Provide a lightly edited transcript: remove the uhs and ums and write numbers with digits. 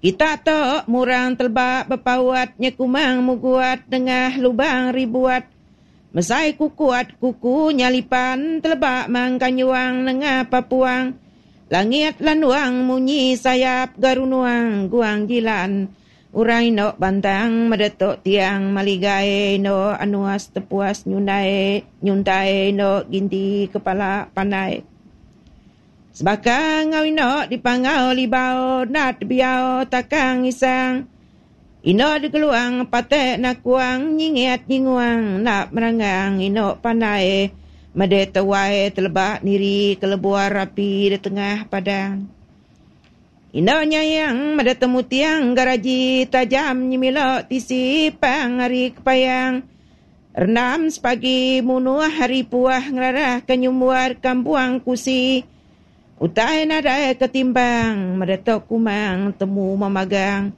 Kita tu murang teleba bepaut nyekumang mugut nengah lubang ribuat. Mesai kukut kuku nyalipan teleba mangka nyuang nengah papuang. Langit landuang munyi sayap garunuang guang jilan. Orang ino bantang medetuk tiang maligai ino anuas tepuas nyundai nyuntai ino ginti kepala pandai. Sebaka enggau ino dipangau libau nat biau takang isang. Ino digeluang patek nakuang nyingit nyinguang enda meranggang ino pandai mede tewai teleba niri kelebuar api di tengah padang. Ino nyayang meda temu tiang garaji tajam nyemilo tisi pang ari kepayang. Rendam sepagi munuh ari puah ngerarah ke nyumbuar kampuang kusi. Utai nadai ketimbang meda tu kumang temu memagang.